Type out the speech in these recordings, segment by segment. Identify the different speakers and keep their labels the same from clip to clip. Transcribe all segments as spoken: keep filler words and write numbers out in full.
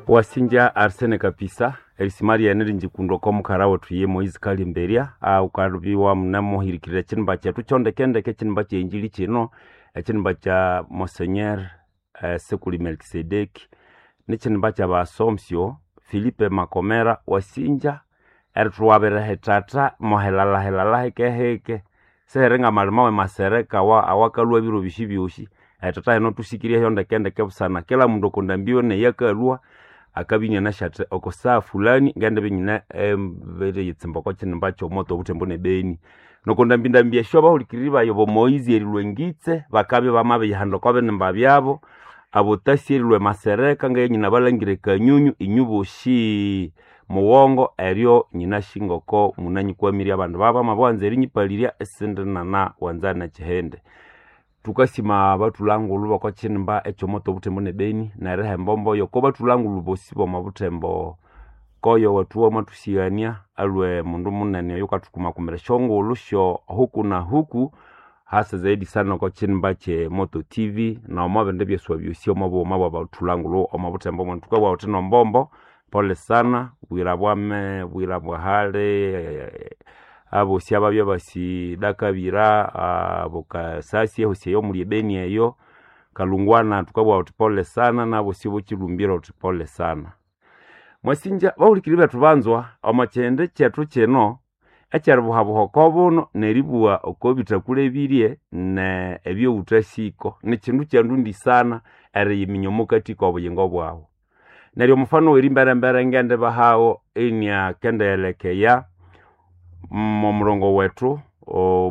Speaker 1: Wasinja Arsene Kapisa erisima lyene rinjikundwa oko mukara wethu ye Moise Kalimberia aukalubiwa munamuhirikirira ekinimba kyethu kyondekendeke ekinimba kyenjili kino ekinimba kya Monseigneur eh, Sekuli Melkisedeki nekinimba kya Assumption Philippe Makomera wasinja erithuwabira hethatha mohelalahelala hekeheke sihere ngamalima we masereka awa awakalhwa ebiro byosi byosi ethatha eno thusikiryeyo ndekendeke busana kila mundu okondambiwe neyakalhwa akabya inyanasyathi oko saha fulani ngendibya inyine emberiyitsimba oko kinimba kyomoto obuthembo nebeni noko ndambindambi esyo abahulikiriri bayi obo Moise erilhwa engitse bakabya bamabiyihanda oko binimba byabo abotasi erilhwa emasereka ngaye nyina balangire kanyunyu inyu bosi mughongo eryo nyinasi ngoko munanyikwamirye abandu baba bamabiwanza erinyipalirya esindi nana wanza nekihindi thukasima abathulangulhu boko kinimba ekyomoto obuthembo nebeni neriha embombo yoko bathulangulhu bosi bomo buthembo koyo wethu wamathusighania alwe mundu munene oyo ukathukumakumira esyongulhu syo huku na huku hasa zaidi sana oko kinimba kye Moto T V nomo bindi byeswa byosi omo bughuma bwa bathulangulhu omo buthembo mwenu thukabugha thuthi nombombo pole sana bwira bwame bwira bwahali abosi ababya basidakabira bukasasi ehosi eyo omuli ebeni eyo kalungwana thukabugha thuthi pole sana nabosi bokilumbira thuthi pole sana mwasinja bahulikiri bethu banzwa omo kindi kyethu kino ekyeribuhabuha oko buno neribugha oko bithakule ebirye ne ebyowuthasiko nikindu kyandundi sana eriyiminya omukati kobuyingo bwawu neryo omufano werimberembere ngendibahawo iniakendighelekeya momurongo wethu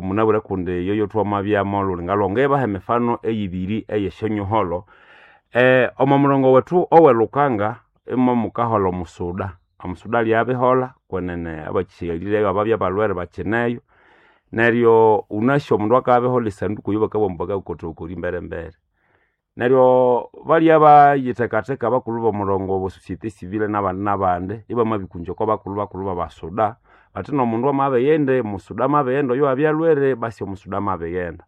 Speaker 1: munabwire kundi yoyo thwamabyamo lulinga lwangebaha emifano eyibiri eyesyonyuholho eh, omo murongo wethu owelukanga imo mukaholha omusuda omusuda lyabiholha kwenene abakyighalire ababya balhwere bakineyo neryo wunasi omundu akabiholha esanduku eyo bakabugha ambu bakakotokori emberembere neryo balya bayithekatheka abakulhu bomurongo obo societe civile nabandi nabandi ibamabikunja oko bakulhu bakulhu babasuda bathi nomundu amabighende musuda amabighenda oyo abyalhwere basi omusuda amabighenda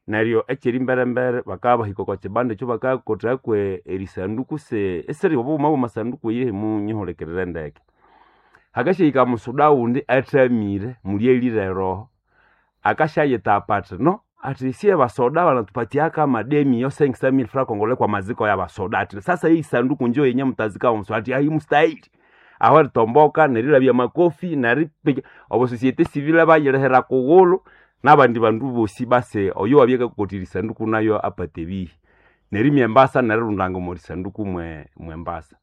Speaker 1: neryo ekyerimberembere bakabahika oko kibanda ekyo bakakothako erisanduku se esiri obughuma bwamasanduku eyihi munyihulikirire ndeke hakasyahika musuda wundi athamire mulyalire eroho akasyayitapa athi no ati siye basoda banatupatiaka mademi yo cinq cent mille francs congolais kwa maziko ya basoda ati sasa hii sanduku njo yenye mtazika mso ati haimstahili aho ritomboka nerilabya makofi neripiga obo societe civile bayilehera kughulu nabandi bandu bosi base oyo wabyakakotira isanduku nayo apate ebihi nerimya embasa nerirundanga omo risanduku mwe mwembasa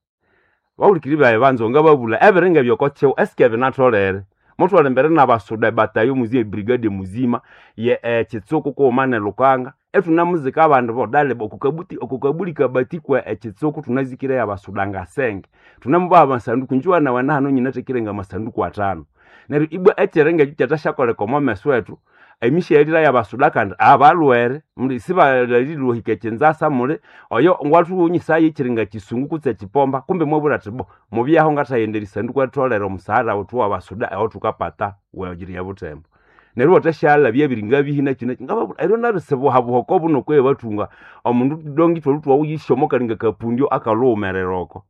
Speaker 1: bahulikiri bayi banza ngababulha ebiringa ebyokokyiwa esike binatholere muthwala embere nabasuda ebatayo muzima ebrigade muzima ye ekitsuku kughuma nelukanga ethunamuzika abandu bodale okukabuti okukabuli kabatikwa ekitsuku thunazikire abasuda ngasenge thunamubaha amasanduku njuwa nawe nahano nyinathekire ngamasanduku athanu neryo ibwa ekiringa ekyo kyathasyakoleka omo meso ethu emishayalira yabasuda kandi abalhwere muli sibalilwahika ekinzasa muli oyo ngwathuwunyisayo ekiringa kisungu kutse ekipomba kumbe mwabwira athi bo mubyaho ngathayenda erisanduku eritholere omusahara wethu wabasuda awathukapata wegiriya buthembo neryo iwathasyalhabya ebiringa bihi nakyi nakyi ngababwira eryo naryo sibuhabuha oko buno kweyi bathunga omundu dongi ithwalhu thwawuyisyomo akalinga kapundyo akalhughumerera oko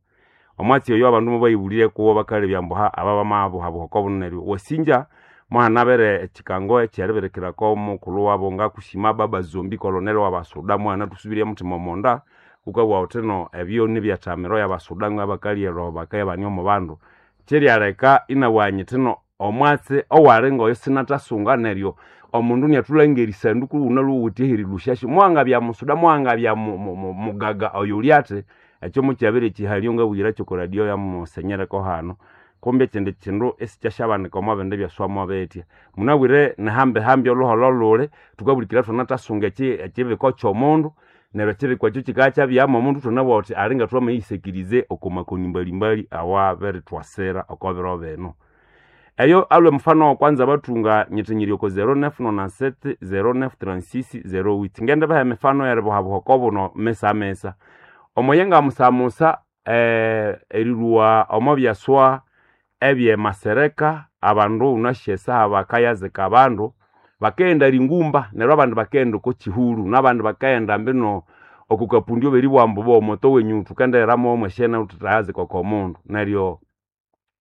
Speaker 1: omwatsi oyo abandu mubayibulire kuwo bakalebya ambu ha aba bamabuhabuha oko buno neryo wasinja mwanabere ekikango ekyeribirikirako mukulhu wabo ngakusima baba zombi kolonel wabasuda mwana thusubirye muthima omonda wukabugha wuthi no ebyo nibyathamiro yabasuda ngabakalya bakayabania omo bandu kyiryaleka inabugha nyithi no omwatsi owali ngoyo sinathasunga neryo omundu niathulhangira erisanduku wunalhuwithe erilhusyasyo muwangabya musuda muwangabya mugaga oyo ulyathi ekyo mukyabere ekihalyo ngabuyira kyoko radio ya musenyereko hano kumbe ekindi kindu esikyasyabanika omo bindi byaswamo bitya munabwire nihambihambi olhuholho luli thukabulikira thwanathasunga ekibiko kyomundu neryo ekibiko ekyo kikakyabyamo omundu thwanabugha thuthi alinga thwamayisekirize oko makoni mbalimbali awabirithwasira oko biro bino eyo alwe mfano wa kwanza bathunga nyithinyiri oko zero nine nonante-sept zero nine trente-six zero huit ngendibaha emifano eribuhabuha oko buno misa misa omoye ngamusamusa eh, erilhuwa omo byaswa ebyemasereka abandu wunasi esaha bakayazika abandu bakaghenda ringumba neryo abandu bakaghenda oko kihuru nabandi bakaghenda mbino Oko kapundio beribugha ambu bo omoto wenyu thukenderamo mweshene thuthayazi koko mundu. Neryo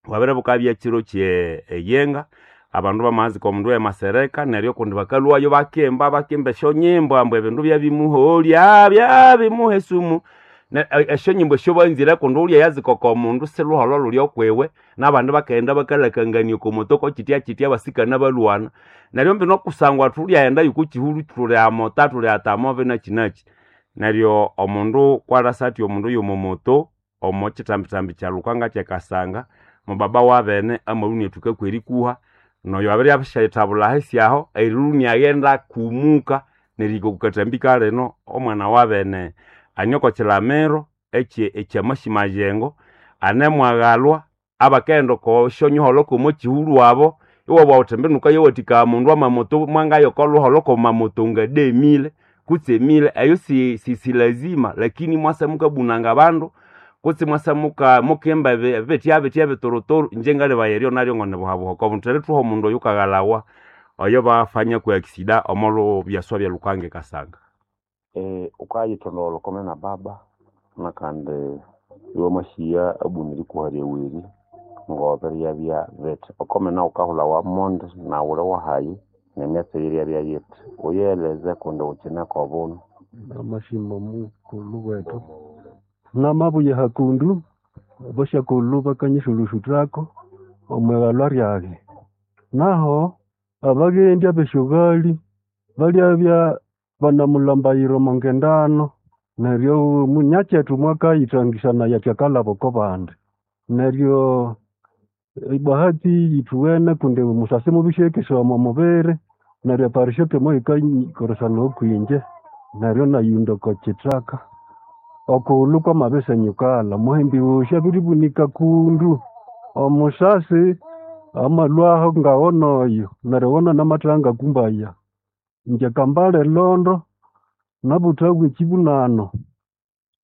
Speaker 1: bwabere bukabya kiro kye eyenga, abandu bamazika omundu w'emasereka, neryo kundi bakalhwayo bakimba bakimba esyonyimbo ambu ebindu byabimuholya byabimuha esumu. Ne- e- esyonyimbo esyo banzire kundi wulya yazika oko mundu siluholho luli okwiwe, n'abandi bakaghenda bakalakangania oko moto ko kyitya kyitya abasikana balwana. Neryo mbino kusangwa thulyaghenda y'oko kihulu thuli amota thuli atamove nakyi nakyi. Neryo omundu kwalasa athi omundu y'omo moto omo kyitambithambi kya Lukanga ky'ekasanga, mubaba wabene amalwa iniathuka kw'erikuha, n'oyo abiryasyaithabulha ahisi aho, erilwa iniaghenda akumuka nerihika oko kathambi kalino, omwana wabene ane oko kyilamiro ekye ekyamasi majengo, anemwaghalwa abakaghenda oko syonyuholho kw'omo kihulu abo, iwabugha wuthi mbinu wukayawathikaya omundu amamoto mwangaya oko luholho kw'amamoto nga demile kutse emile, eyo si si silazima lakini mwasa mukabunanga abandu kutse mwasa muka mukimba ebi- ebitya bitya ebituruturu, inje ngalebaya eryo naryo ngonibuhabuha oko bundu erithuha omundu oyukaghalawa oyo bafanya kwe accident omo byaswa bya Lukanga ekasanga.
Speaker 2: Eh, ukayithonda olukome na baba nakandi iwamashiya abunire ikuha ryaweri ngobiryabya bithi okomena wukahulha wamondi nawu uli wahayi nemyatsi eyiryabya yithi uyeleze kundi wukyine kobunu.
Speaker 3: Namashima mukulhu wethu namabuya hakundu abasyakulhu bakanyisulusuthako omwighalwa lyaghe. Naho abaghendi abesyoghali balyabya banamulhambayira omo ngendano neryo munyakyethu mwakayithangisanaya athi akalhaba oko bandi. Neryo ebahati yithuwene kundi musasi mubisi eyakesaya omo mubiri neryo eparishoke moyikakoresanawa okwinje neryo inayunda oko kyithaka. Okughulhu kwamabisenyukalha omuhimbi wosi abiribunika kundu omusasi amalhwaho ngawona oyo neryo iwona namathaha ngakumbaya. Ingye kambala e Londo nabuthawa ekyibunano.